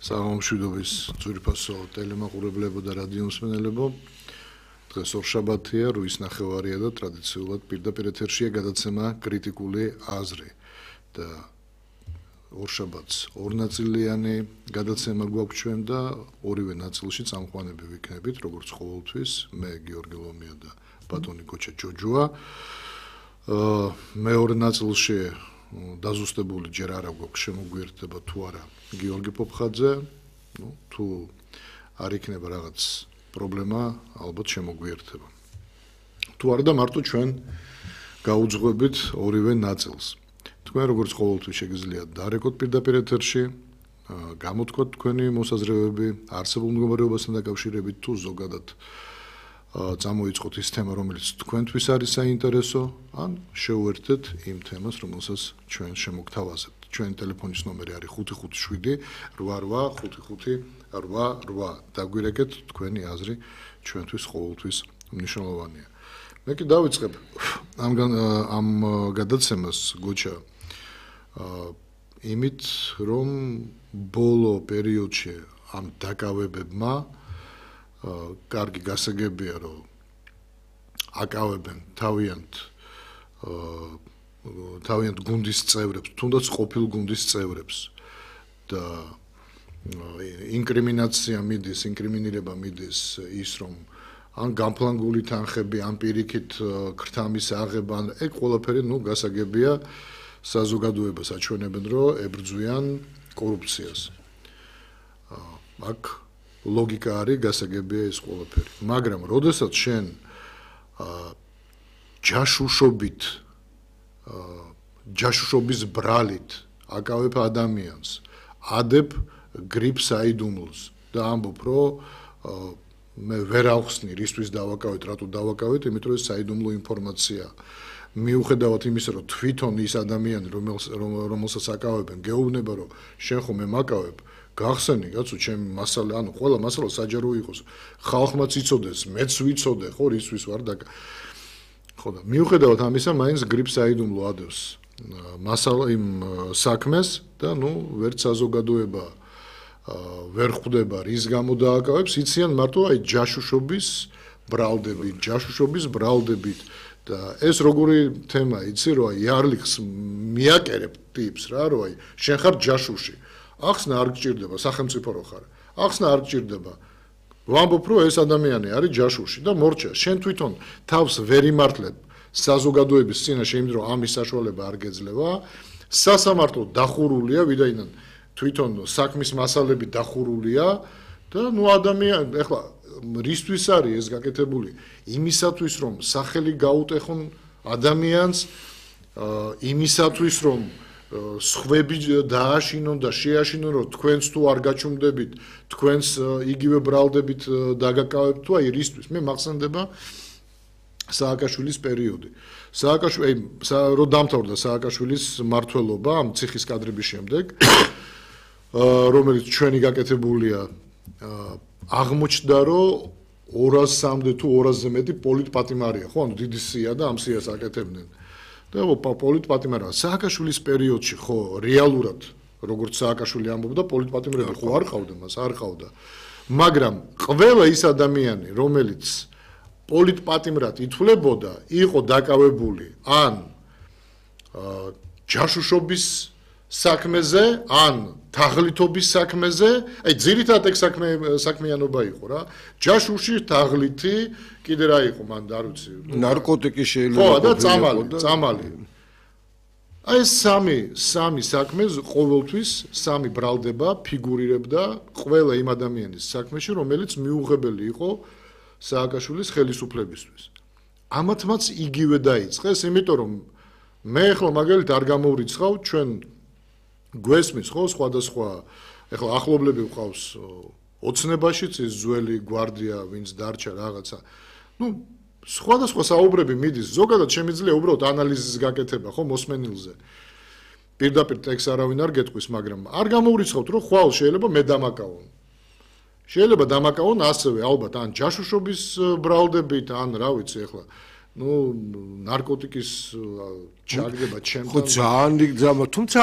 საღამომშვიდობის ძვირფასო ტელემაყურებლებო და რადიო მსმენელებო. დღეს ორშაბათია, 8:30 და ტრადიციულად პირდაპირ ეთერშია გადაცემა კრიტიკული აზრი და ორშაბათს ორნაწილიანი გადაცემა გვაქვს ჩვენ და ორივე ნაწილში წამყვანები ვიქნებით, როგორც ყოველთვის, მე გიორგი ლომია და ბატონი კოჩა ჯოჯოა. მეორე ნაწილში დაზუსტებული ჯერ არა გვაქვს შემოგვიერთდება თუ არა გიორგი პოპხაძე, თუ არ იქნება რაღაც პრობლემა, ალბათ შემოგვიერთება. თუ არა და მარტო ჩვენ გაუძღვებით ორივე ნაწილს. თქვენ როგორც ყოველთვის შეგიძლიათ დარეკოთ პირდაპირ ეთერში, გამოთქვათ თქვენი მოსაზრებები არსებულ მდგომარეობასთან დაკავშირებით თუ ზოგადად წამოიწყოთ ის თემა, რომელიც თქვენთვის არის საინტერესო, ან შევუერთდეთ იმ თემას, რომელსაც ჩვენ შემოგთავაზებთ. ჩვენი ტელეფონის ნომერი არის 557 88 55 88. დაგვირეკეთ თქვენი აზრი ჩვენთვის ყოველთვის მნიშვნელოვანია. მე კი დავიწყებ ამ გადაცემას გოჩა იმით, რომ ბოლო პერიოდში ამ დაკავებებმა კარგი გასაგებია, რომ აკავებენ თავიანთ გუნდის წევრებს, თუნდაც ყოფილ გუნდის წევრებს და ინკრიმინირება მიდის ის, რომ ან გამფლანგული თანხები, ან პირიქით ქრთამის აღება, ეგ ყველაფერი გასაგებია საზოგადოებას აჩვენებენ, რომ ებრძვიან კორუფციას. აქ ლოგიკა არის, გასაგებია ეს ყველაფერი. მაგრამ როდესაც შენ ჯაშუშობის ბრალით აკავებ ადამიანს, ადებ გრიპ საიდუმლოს და ამბობ, რომ მე ვერ ავხსნი, რისთვის დავაკავეთ, რატო დავაკავეთ, იმიტომ რომ საიდუმლო ინფორმაცია. მიუხედავად იმისა, რომ თვითონ ის ადამიანი, რომელსაც აკავებენ, გეუბნება, რომ შენ ხომ მე მაკავებ, გახსენი, კაცო, ჩემი მასალა, ანუ ყველა მასალა საჯარო იყოს. ხალხმაც იცოდეს, მეც ვიცოდე, ხო, რისთვის ვარ და ხო და მიუხედავად ამისა, მაინც გრიპ საიდუმლო ადევს მასალა იმ საქმეს და ვერც საზოგადოება ვერ ხვდება რის გამო დააკავებს, იციან მარტო აი ჯაშუშობის ბრალდებით და ეს როგორი თემა, იცი, რომ აი იარლიხს მიაკერებ ტიპს რა, რომ აი შენ ხარ ჯაშუში. ახსნა არ გჭირდება, სახელმწიფო რო ხარ. ახსნა არ გჭირდება. ვამბობ, რომ ეს ადამიანი არის ჯაშუში და მორჩა. შენ თვითონ თავს ვერ იმართლებ საზოგადოების წინაშე, იმიტომ რომ ამის საშუალება არ გეძლევა. სასამართლო დახურულია, ვიდაიდან თვითონ საქმის მასალები დახურულია და ადამიანი, ეხლა რისთვის არის ეს გაკეთებული? იმისათვის, რომ სახელი გაუტეხონ ადამიანს, იმისათვის, რომ სხვები დააშინონ და შეაშინონ, რომ თქვენც თუ არ გაჩუმდებით, თქვენს იგივე ბრალდებით დაგაკავებთ თუ აი რისთვის? მე მახსენდება სააკაშვილის პერიოდი. რომ დამთავრდა სააკაშვილის მმართველობა ამ ციხის კადრების შემდეგ, რომელიც ჩვენი გაკეთებულია, აღმოჩნდა, რომ 200-მდე თუ 200-ზე მეტი პოლიტპატიმარია, ხო, ანუ დიდი სია და ამ სიას აკეთებდნენ. და პოლიტპატიმარია სააკაშვილის პერიოდში, ხო, რეალურად, როგორც სააკაშვილი ამბობდა, პოლიტპატიმრები ხო არ ყავდა მას, არ ყავდა. მაგრამ ყველა ის ადამიანი, რომელიც პოლიტპატიმრად ითვლებოდა, იყო დაკავებული ან ჯაშუშობის საქმეზე, ან თაღლითობის საქმეზე, აი ძირითადად ეგ საქმიანობა იყო რა. ჯაშუში, თაღლითი, კიდე რა იყო მან არ ვიცი. ნარკოტიკი შეიძლება ხო და წამალი. აი სამი საქმე ყოველთვის სამი ბრალდება ფიგურირებდა ყველა იმ ადამიანის საქმეში, რომელიც მიუღებელი იყო სააკაშვილის ხელისუფლებისთვის. ამათმაც იგივე დაიწყეს, იმიტომ რომ მე ახლა მაგალითად არ გამოვრიცხავ, ჩვენ გვესმის ხო სხვადასხვა, ახლა ახლობლები ვყავს ოცნებაშიც ის ძველი გვარდია, ვინც დარჩა რაღაცა. სხვადასხვა საუბრები მიდის, ზოგადად შემიძლია უბრალოდ ანალიზის გაკეთება, ხო, მოსმენილზე. პირდაპირ ტექსტს არავინ არ გეტყვის, მაგრამ არ გამოვრიცხავთ, რომ ხვალ შეიძლება მე დამაკავონ. შეიძლება დამაკავონ ასევე ალბათ ან ჯაშუშობის ბრალდებით, ან რა ვიცი ახლა ნარკოტიკის ჩაგდება ჩემთან. ხო ძალიან თუმცა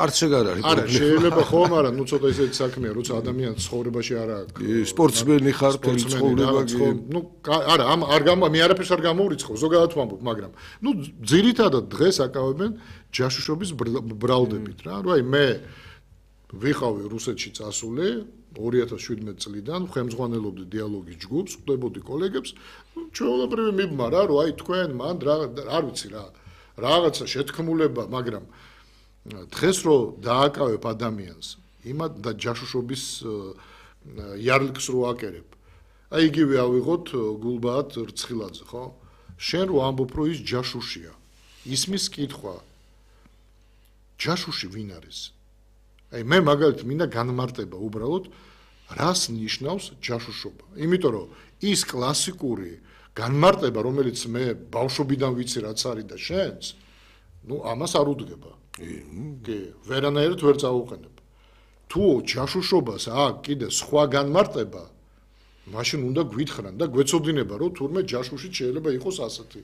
არც ეგარ არის. არა, შეიძლება ხო, მაგრამ ცოტა ისეთი საქმეა, როცა ადამიანს ცხოვრებაში არ აქვს. სპორტსმენი ხარ, ცხოვრება არა, მე არაფერს არ გამოვრიცხავ, ზოგადად ვამბობ, მაგრამ ძირითადად დღეს აკავებენ ჯაშუშობის ბრალდებით რა. აი მე ვიხავი რუსეთში წასული 2017 წლიდან, ხელმძღვანელობდი დიალოგის ჯგუფს, ხვდებოდი კოლეგებს, ჩვეულებრივი მიბმა რა, რომ აი თქვენ მან არ ვიცი რა, რაღაცა შეთქმულება, მაგრამ დღეს რო დააკავებ ადამიანს, იმად და ჯაშუშობის იარლიკს რო აკერებ. აი იგივე ავიღოთ გულბაათ რცხილაძე, ხო? შენ რო ამბობ, რომ ის ჯაშუშია. ისმის კითხვა. ჯაშუში ვინ არის? აი მე მაგალითად მინდა განმარტება უბრალოდ რას ნიშნავს ჯაშუშობა. იმიტომ რომ ის კლასიკური განმარტება, რომელიც მე ბავშვობიდან ვიცი რაც არის და შენც, ამას არ უდგება. კი, ვერანაირად ვერ წაუყენებ. თუ ჯაშუშობას აქვს კიდე სხვა განმარტება, მაშინ უნდა გვითხრან და გვეცოდინება, რომ თურმე ჯაშუში შეიძლება იყოს ასეთი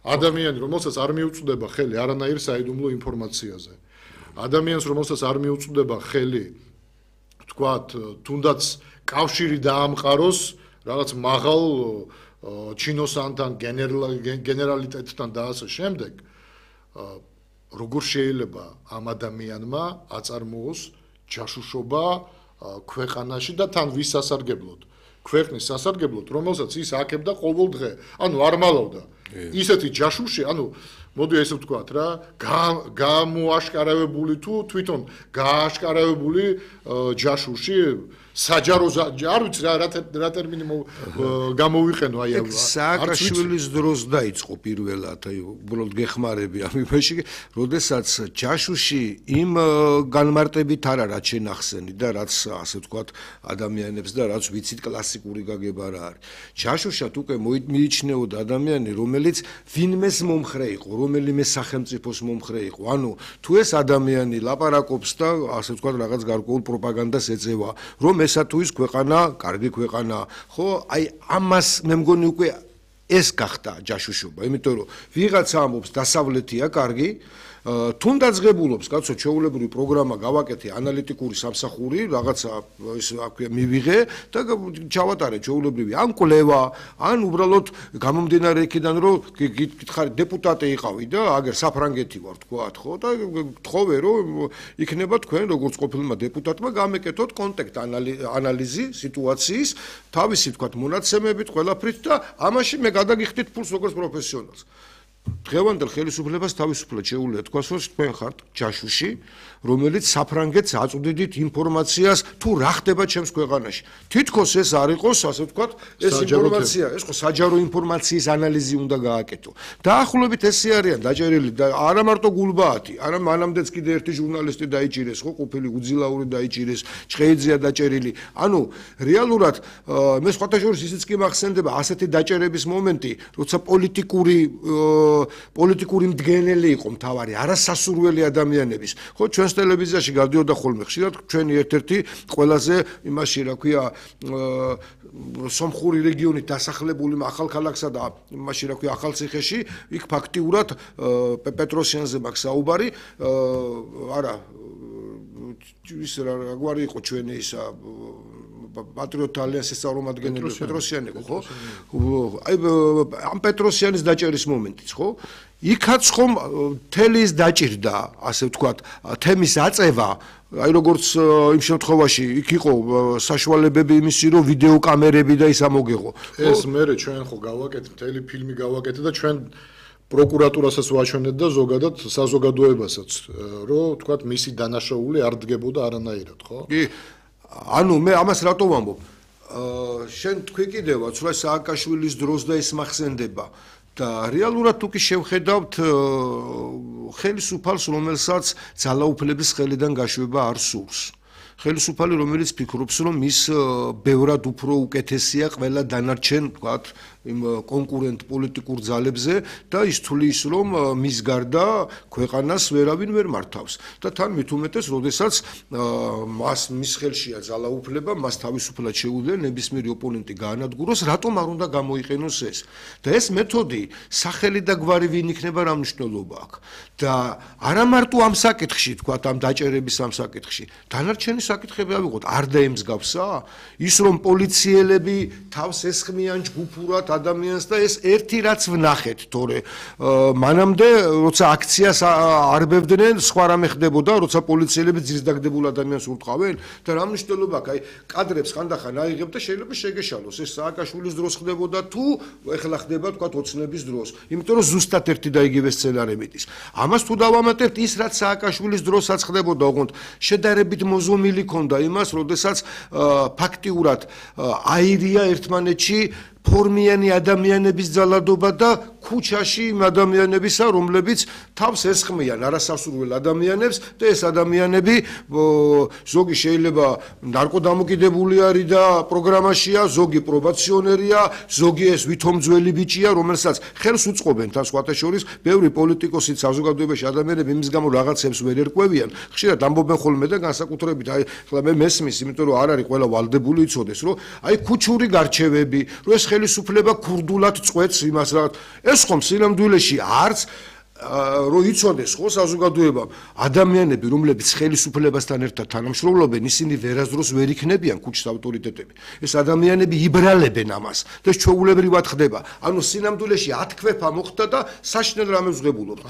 ადამიანი, რომელსაც არ მიუწვდება ხელი არანაირ საიდუმლო ინფორმაციაზე. ადამიანს, რომელსაც არ მიუწვდება ხელი, თქვათ, თუნდაც კავშირი დაამყაროს რაღაც მაღალ ჩინოსანთან, გენერალიტეტთან და ასე შემდეგ, როგორ შეიძლება ამ ადამიანმა აწარმოოს ჯაშუშობა ქვეყანაში და თან ვის სასარგებლოდ? ქვეყნის სასარგებლოდ, რომელსაც ის აკებდა ყოველ დღე. არ მალავდა. ისეთი ჯაშუში, მოდი ესე ვთქვათ რა, გამოაშკარავებული თუ თვითონ გააშკარავებული ჯაშუში საჯარო არ ვიცი რა ტერმინი გამოვიყენო აი სააკაშვილის დროს დაიწყო პირველად აი უბრალოდ გეხმარები ამ იმაში როდესაც ჯაშუში იმ განმარტებით არა რაც შენახსენი და რაც ასე ვთქვათ ადამიანებს და რაც ვიცით კლასიკური გაგება რა არის ჯაშუშად უკვე მიიჩნეოდა ადამიანი რომელიც ვინმეს მომხრე იყო რომელიმე სახელმწიფოს მომხრე იყო ანუ თუ ეს ადამიანი ლაპარაკობს და ასე ვთქვათ რაღაც გარკვეულ პროპაგანდას ეწევა რომ ესა თუ ის ქვეყანა, კარგი ქვეყანა, ხო, აი ამას მე მგონი უკვე ეს გახდა ჯაშუშობა, იმიტომ რომ ვიღაცა ამბობს დასავლეთია კარგი, თუნდაც ღებულობს, კაცო, ჩვეულებრივი პროგრამა გავაკეთე, ანალიტიკური სამსახური, რაღაცა ის მივიღე და ჩავატარე ჩვეულებრივი ან კვლევა, ან უბრალოდ გამომდინარე იქიდან, რომ გითხარი დეპუტატი იყავი და აგერ საფრანგეთი ვარ, თქვათ, ხო, და გთხოვე, რომ იქნება თქვენ როგორც ყოფილმა დეპუტატმა გამეკეთოთ კონტექსტ ანალიზი სიტუაციის, თავისი თქვათ მონაცემებით, ყველაფრით და ამაში მე გადაგიხდით ფულს როგორც პროფესიონალს. დღევანდელ ხელისუფლებას თავისუფლად შეუძლია თქვას, რომ თქვენ ხართ ჯაშუში, რომელიც საფრანგეთს აწვდიდით ინფორმაციას, თუ რა ხდება ჩემს ქვეყანაში. თითქოს ეს არ იყოს, ასე ვთქვათ, ეს ინფორმაცია, ეს ხო საჯარო ინფორმაციის ანალიზი უნდა გააკეთო. დაახლოებით ესე არიან დაჭერილი და არა მარტო გულბაათი, არა მანამდეც კიდე ერთი ჟურნალისტი დაიჭირეს, ხო, ყოფილი უძილაური დაიჭირეს, ჭყეიძეა დაჭერილი. ანუ რეალურად მე სხვათა შორის ისიც კი მახსენდება ასეთი დაჭერების მომენტი, როცა პოლიტიკური მდგენელი იყო მთავარი, არასასურველი ადამიანების. ხო, ჩვენს ტელევიზიაში გადიოდა ხოლმე ხშირად ჩვენი ერთ-ერთი ყველაზე იმაში, რა ქვია, სომხური რეგიონით დასახლებული ახალქალაქსა და იმაში, რა ქვია, ახალციხეში, იქ ფაქტიურად პეტროსიანზე მაქვს საუბარი, არა, ის რაგვარი იყო ჩვენი ისა პატრიოტთა ალიანსის წარმომადგენელი პეტროსიანი იყო, ხო? აი ამ პეტროსიანის დაჭერის მომენტიც, ხო? იქაც ხომ თელის დაჭირდა, ასე ვთქვათ, თემის აწევა, აი როგორც იმ შემთხვევაში იქ იყო საშუალებები იმისი, რომ ვიდეო კამერები და ის ამოგეღო. ეს მერე ჩვენ ხო გავაკეთეთ, მთელი ფილმი გავაკეთეთ და ჩვენ პროკურატურასაც ვაჩვენეთ და ზოგადად საზოგადოებასაც, რომ თქვათ მისი დანაშაული არ დგებოდა არანაირად, ხო? კი. ანუ მე ამას რატო ვამბობ? შენ თქვი კიდევაც, რომ სააკაშვილის დროს და ის მახსენდება და რეალურად თუ კი შევხედავთ ხელისუფალს, რომელსაც ძალაუფლების ხელიდან გაშვება არ სურს. ხელისუფალი რომელიც ფიქრობს რომ ის ბევრად უფრო უკეთესია ყველა დანარჩენ ვთქვათ იმ კონკურენტ პოლიტიკურ ძალებზე და ის თulis რომ მის გარდა ქვეყანას ვერავინ ვერ მართავს და თან მით უმეტეს როდესაც მის ხელშია ძალაუფლება მას თავისუფლად შეუძლია ნებისმიერი ოპონენტი გაანადგუროს რატომ არ უნდა გამოიყენოს ეს და ეს მეთოდი სახელი და გვარი ვინ იქნება რა მნიშვნელობა აქვს და არა მარტო ამ საკითხში თქვათ ამ დაჭერების ამ საკითხში დანარჩენი საკითხები ავიღოთ არ დაემსგავსა ის რომ პოლიციელები თავს ესხმიან ჯგუფურად ადამიანს და ეს ერთი რაც ვნახეთ თორე მანამდე როცა აქციას არბევდნენ სხვა რამე ხდებოდა როცა პოლიციელები ძირს დაგდებულ ადამიანს ურტყავენ და რა მნიშვნელობა აქვს აი კადრებს ხანდახან აიღებ და შეიძლება შეგეშალოს ეს სააკაშვილის დროს ხდებოდა თუ ეხლა ხდება თქვათ ოცნების დროს იმიტომ რომ ზუსტად ერთი და იგივე სცენარებით ის ამას თუ დავამატებთ ის რაც სააკაშვილის დროსაც ხდებოდა ოღონდ შედარებით მოზომილი ქონდა იმას როდესაც ფაქტიურად აირია ერთმანეთში ფორმიანი ადამიანების ძალადობა და ქუჩაში იმ ადამიანებისა რომლებიც თავს ესხმიან არასასურველ ადამიანებს და ეს ადამიანები ზოგი შეიძლება ნარკოდამოკიდებული არის და პროგრამაშია ზოგი პრობაციონერია ზოგი ეს ვითომძველი ბიჭია რომელსაც ხელს უწყობენ თან სხვათა შორის ბევრი პოლიტიკოსი საზოგადოებაში ადამიანები იმის გამო რაღაცებს ვერ ერკვევიან ხშირად ამბობენ ხოლმე და განსაკუთრებით აი ხლა მე მესმის იმიტომ რომ არ არის ყველა ვალდებული იცოდეს რომ აი ქუჩური გარჩევები რომ ეს ხელისუფლება ქურდულად წყვეტს იმას რაღაც ეს ხომ სინამდვილეში არც რო იცოდეს ხო საზოგადოება ადამიანები რომლებიც ხელისუფლებასთან ერთად თანამშრომლობენ ისინი ვერასდროს ვერ იქნებიან ქუჩის ავტორიტეტები ეს ადამიანები იბრალებენ ამას და ჩვეულებრივად ხდება ანუ სინამდვილეში ათქვეფა მოხდა და საშინელ რამებს ვღებულობთ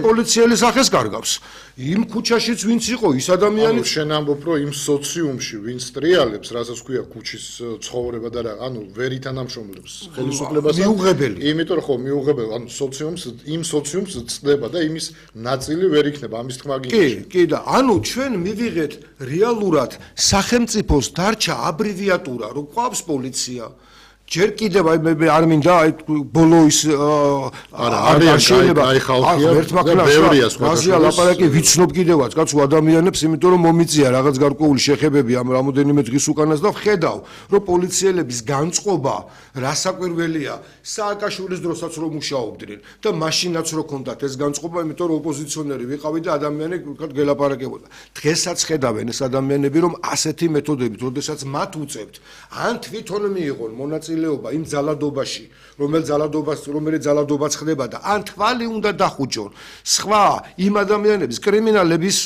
პოლიციელი სახეს კარგავს იმ ქუჩაშიც ვინც იყო ის ადამიანი შენ ამბობ რომ იმ სოციუმში ვინც ტრიალებს რასაც ქვია ქუჩის ცხოვრება და რა ანუ ვერ ითანამშრომლებს ხელისუფლებასთან მიუღებელი იმიტომ რომ ხო მიუღებელი ანუ სოციუმს იმ სოციუმს წდება და იმის ნაწილი ვერ იქნება ამის თქმა გინდა კი და ანუ ჩვენ მივიღეთ რეალურად სახელმწიფოს დარჩა აბრივიატურა რომ ყავს პოლიცია ჯერ კიდევ მე არ მინდა აი ბოლო ის არა შეიძლება აი ხალხია და ბევრია სხვა ლაპარაკი ვიცნობ კიდევაც კაცო ადამიანებს იმიტომ რომ მომიწია რაღაც გარკვეული შეხებები ამ რამოდენიმე დღის უკანას და ვხედავ რომ პოლიციელების განწყობა რასაკვირველია სააკაშვილის დროსაც რომ მუშაობდნენ და მაშინაც რო ქონდათ ეს განწყობა იმიტომ რომ ოპოზიციონერი ვიყავი და ადამიანები ვთქვათ გელაპარაკებოდა დღესაც ხედავენ ეს ადამიანები რომ ასეთი მეთოდებით როდესაც მათ უწევთ ან თვითონ მიიღონ მონაწილეობა იმ ძალადობაში, რომელიც ძალადობაც ხდება და ან თვალი უნდა დახუჭონ. სხვა იმ ადამიანების კრიმინალების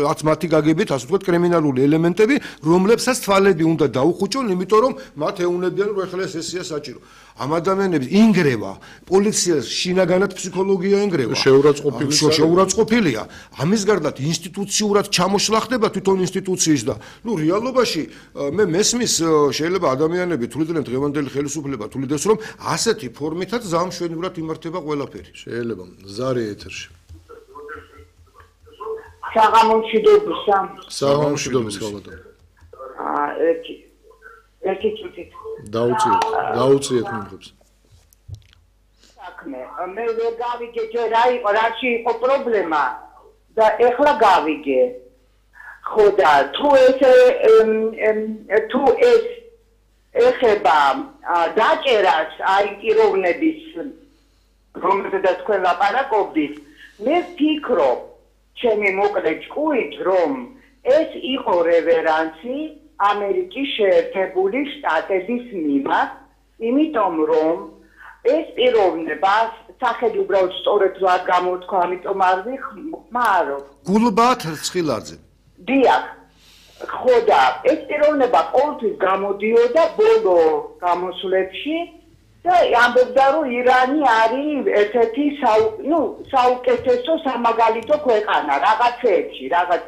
რაც მათი გაგებით, ასე ვთქვათ, კრიმინალური ელემენტები, რომლებსაც თვალები უნდა დაუხუჭონ, იმიტომ რომ მათ ეუნებიან, რომ ეხლა ეს ესეა საჭირო. ამ ადამიანებს ინგრევა, პოლიციას შინაგანად ფსიქოლოგია ინგრევა. შეურაცხყოფილია. ამის გარდა ინსტიტუციურად ჩამოშლა ხდება თვითონ ინსტიტუციის და ნუ რეალობაში მე მესმის შეიძლება ადამიანები თuliდნენ დღევანდელი ხელისუფლება თulides რომ ასეთი ფორმითაც ზამშვენივრად იმართება ყველაფერი. შეიძლება ზარი ეთერში. საღამომშვიდობის ხალხო. ერთი წუთით დაუწიეთ მიმღებს. საქმე, მე ვერ გავიგე ჯერ რა იყო, რაში იყო პრობლემა და ეხლა გავიგე. ხო და თუ ეს ეხება დაჭერას აი პიროვნების რომელზედაც თქვენ ლაპარაკობდით, მე ვფიქრობ, ჩემი მოკლე ჭკუით, რომ ეს იყო რევერანსი ამერიკის შეერთებული შტატების მიმართ, იმიტომ რომ ეს პიროვნება სახელი უბრალოდ სწორედ რა გამოთქვა, ამიტომ არ ვიხმარო. გულბათ რცხილაძე. დიახ. ხო და ეს პიროვნება ყოველთვის გამოდიოდა ბოლო გამოსვლებში და ამბობდა რომ ირანი არის ერთ-ერთი საუკეთესო სამაგალითო ქვეყანა რაღაცეებში, რაღაც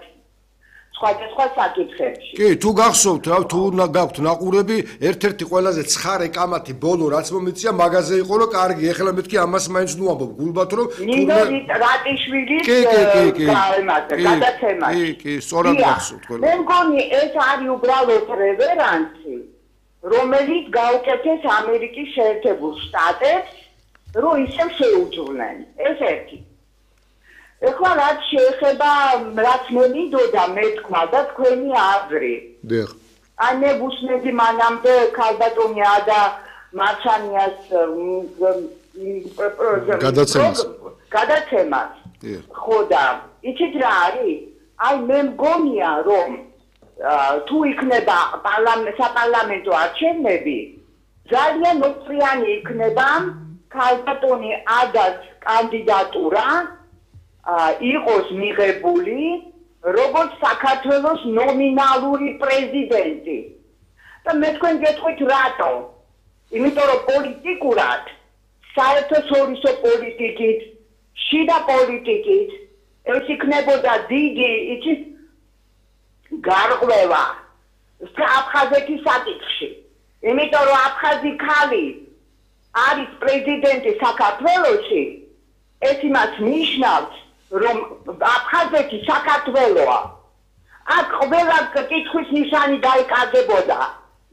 სხვადასხვა საკითხებში. კი, თუ გახსოვთ, რა თუ გაქვთ ნაყურები, ერთ-ერთი ყველაზე ცხარე კამათი ბოლო რაც მომიწია მაგაზე იყო რომ კარგი, ეხლა მეთქი ამას მაინც ნუ ამბობ გულბათ რომ ნინო რატიშვილის გადაცემაში. კი, სწორად გახსოვთ ყველა. მე მგონი ეს არის უბრალოდ რევერანსი, რომელიც გაუკეთეს ამერიკის შეერთებულ შტატებს, რომ ისევ შეუძვლენ. ეს ერთი. ეხლა რაც შეეხება რაც მე მინდოდა მეთქვა და თქვენი აზრი. დიახ. აი მე ვუსმენდი მანამდე ქალბატონია და მარჩანიას გადაცემას. ხო და იცით რა არის? აი მე მგონია რომ თუ იქნება საპარლამენტო არჩევნები ძალიან მოწრიანი იქნება ქალბატონი ადას კანდიდატურა იყოს მიღებული როგორც საქართველოს ნომინალური პრეზიდენტი. და მე თქვენ გეტყვით რატო? იმიტომ რომ პოლიტიკურად საერთაშორისო პოლიტიკით, შიდა პოლიტიკით ეს იქნებოდა დიდი იცით გარღვევა აფხაზეთის საკითხში. იმიტომ რომ აფხაზი ხალი არის პრეზიდენტი საქართველოში, ეს იმას ნიშნავს, რომ აფხაზეთი საქართველოა. აქ ყველა კითხვის ნიშანი დაიკარგებოდა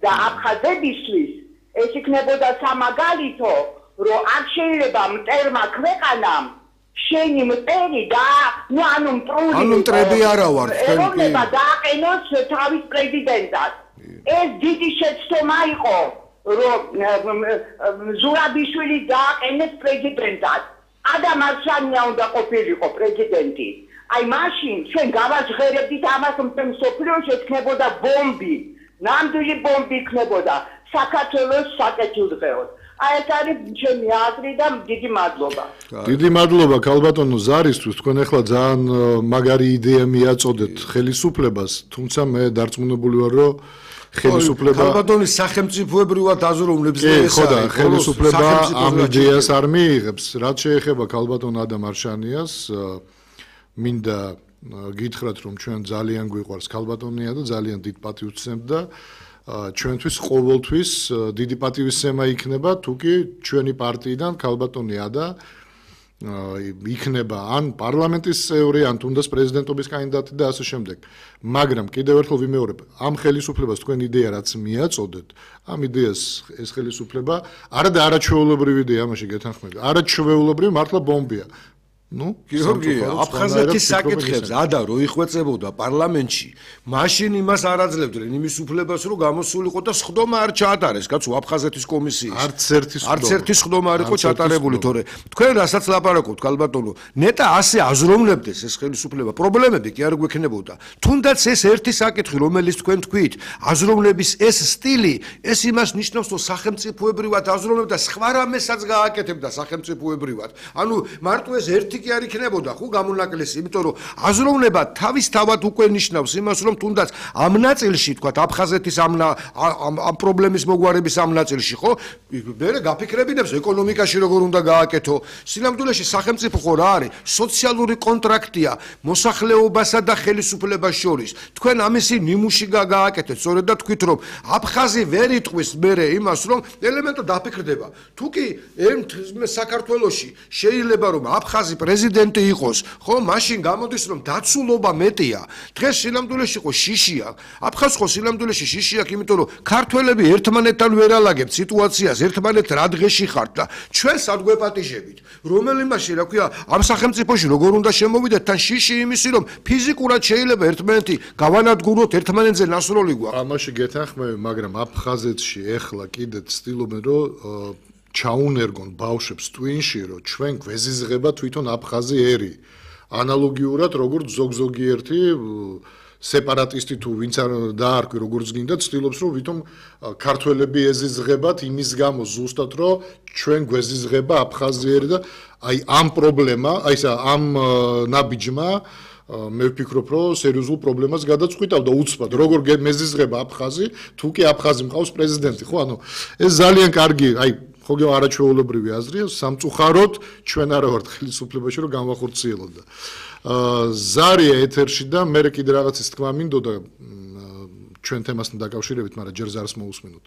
და აფხაზებისთვის ეს იქნებოდა სამაგალითო, რომ არ შეიძლება მტერმა ქვეყანამ შენი მტერი და მტრები არა ვარ ეროვნება დააყენოს თავის პრეზიდენტად. ეს დიდი შეცდომა იყო, რომ ზურაბიშვილი დააყენეს პრეზიდენტად. ადამ მარშანია უნდა ყოფილიყო პრეზიდენტი. აი მაშინ ჩვენ გავაჟღერებდით ამას, რომ მსოფლიოში ექნებოდა ბომბი, ნამდვილი ბომბი იქნებოდა საქართველოს საკეთილდღეოდ. აი ეს არის ჩემი აზრი და დიდი მადლობა. დიდი მადლობა ქალბატონო ზარისთვის. თქვენ ახლა ძალიან მაგარი იდეა მიაწოდეთ ხელისუფლებას, თუმცა მე დარწმუნებული ვარ, რომ ხელისუფლება ქალბატონის სახელმწიფოებრივად აზროვნებს და ეს არის ხელისუფლება ამ იდეას არ მიიღებს. რაც შეეხება ქალბატონ ადამ არშანიას, მინდა გითხრათ, რომ ჩვენ ძალიან გვიყვარს ქალბატონია და ძალიან დიდ პატივს ვცემთ და ჩვენთვის ყოველთვის დიდი პატივისცემა იქნება, თუკი ჩვენი პარტიიდან ქალბატონი ადა იქნება ან პარლამენტის წევრი, ან თუნდაც პრეზიდენტობის კანდიდატი და ასე შემდეგ. მაგრამ კიდევ ერთხელ ვიმეორებ, ამ ხელისუფლებას თქვენ იდეა რაც მიაწოდეთ, ამ იდეას ეს ხელისუფლება არა და არაჩვეულებრივი იდეა, ამაში გეთანხმები. არაჩვეულებრივი მართლა ბომბია. გიორგი, აფხაზეთის საკითხებს ადა რო იხვეწებოდა პარლამენტში, მაშინ იმას არ აძლევდნენ იმის უფლებას, რომ გამოსულიყო და სხდომა არ ჩაატარეს, კაცო, აფხაზეთის კომისიის. არც ერთი სხდომა არ იყო ჩატარებული, თორე თქვენ რასაც ლაპარაკობთ, ქალბატონო, ნეტა ასე აზროვნებდეს ეს ხელისუფლება, პრობლემები კი არ გვექნებოდა. თუნდაც ეს ერთი საკითხი, რომელიც თქვენ თქვით, აზროვნების ეს სტილი, ეს იმას ნიშნავს, რომ სახელმწიფოებრივად აზროვნებდა, სხვა რამესაც გააკეთებდა სახელმწიფოებრივად. ანუ მარტო ეს ერთი კი არ იქნებოდა ხო გამონაკლისი, იმიტომ რომ აზროვნება თავისთავად უკვე ნიშნავს იმას, რომ თუნდაც ამ ნაწილში, თქვა აფხაზეთის ამ პრობლემის მოგვარების ამ ნაწილში, ხო? მე გაფიქრებინებს ეკონომიკაში როგორ უნდა გააკეთო. სინამდვილეში სახელმწიფო ხო რა არის? სოციალური კონტრაქტია მოსახლეობასა და ხელისუფლებას შორის. თქვენ ამისი ნიმუში გააკეთეთ, სწორედ და თქვით, რომ აფხაზი ვერ იტყვის მერე იმას, რომ ელემენტო დაფიქრდება. თუ კი საქართველოში შეიძლება რომ აფხაზი პრეზიდენტი იყოს, ხო, მაშინ გამოდის რომ დაცულობა მეტია. დღეს სინამდვილეში ხო შიშია. აფხაზს ხო სინამდვილეში შიში აქვს, იმიტომ რომ ქართველები ერთმანეთთან ვერ ალაგებთ სიტუაციას, ერთმანეთ რა დღეში ხართ და ჩვენ სად გვეპატიჟებით. რომელი მაშინ, რა ქვია, ამ სახელმწიფოში როგორ უნდა შემოვიდეთ, თან შიში იმისი, რომ ფიზიკურად შეიძლება ერთმანეთი გავანადგუროთ, ერთმანეთზე ნასროლი გვაქვს. ამაში გეთანხმები, მაგრამ აფხაზეთში ეხლა კიდე ცდილობენ, რომ ჩაუნერგონ ბავშვებს ტვინში, რომ ჩვენ გვეზიზღება თვითონ აფხაზი ერი. ანალოგიურად, როგორც ზოგიერთი სეპარატისტი თუ ვინც არ დაარქვი როგორც გინდა, ცდილობს, რომ ვითომ ქართველები ეზიზღებათ იმის გამო ზუსტად, რომ ჩვენ გვეზიზღება აფხაზი ერი და აი ამ პრობლემა, აი ესა ამ ნაბიჯმა მე ვფიქრობ, რომ სერიოზულ პრობლემას გადაწყვიტავდა უცბად, როგორ მეზიზღება აფხაზი, თუ კი აფხაზი მყავს პრეზიდენტი, ხო, ანუ ეს ძალიან კარგი, აი ხოგე არაჩვეულებრივი აზრია, სამწუხაროდ ჩვენ არა ვართ ხელისუფლებაში, რომ განვახორციელოთ და ზარია ეთერში და მე კიდე რაღაცის თქვა მინდოდა ჩვენ თემასთან დაკავშირებით, მაგრამ ჯერ ზარს მოусმინოთ.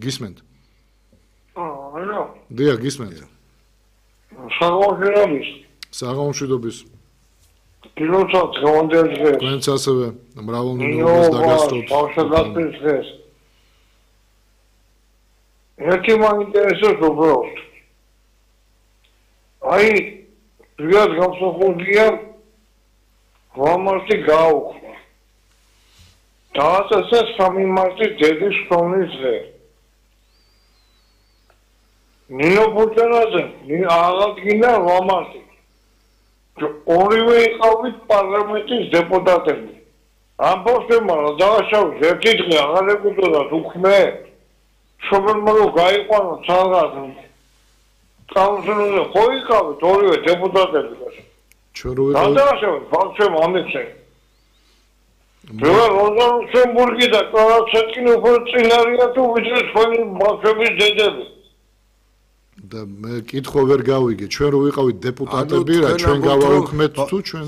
გისმენთ? ალო. დიახ, გისმენთ. საღამოშვიდობის. კილოცად გონდელს დღეს. თქვენც ასევე მრავალმილიონს დაგასწროთ. ბავშვებს დღეს. ერთი მაინტერესებს უბრალოდ. აი, ზოგადად გამოსახულია ვამარტი გაუხმა. დააწესა 3 მარტის დედის ხსოვნის დღე. ნინო ბურჯანაძე აღადგინა ვამარტი. ორივე იყავით პარლამენტის დეპუტატები. ამ პოსტებმა რა დააშავეს ერთი დღე აღარ ეკუთვნოდათ უქმე. შობელმა რომ გაიყვანო ცალღად კაუნსილზე ხო იყავით ორივე დეპუტატები. ჩვენ რო ვიყავით გადააშავეთ ბავშვებმა ამიხსენ. როზა ლუქსემბურგი და კლარაცეტკინი უფრო წინ არიან თუ ვიდრე თქვენი ბავშვების დედები. და მე კითხვა ვერ გავიგე ჩვენ რო ვიყავით დეპუტატები რა ჩვენ გავაუქმეთ თუ ჩვენ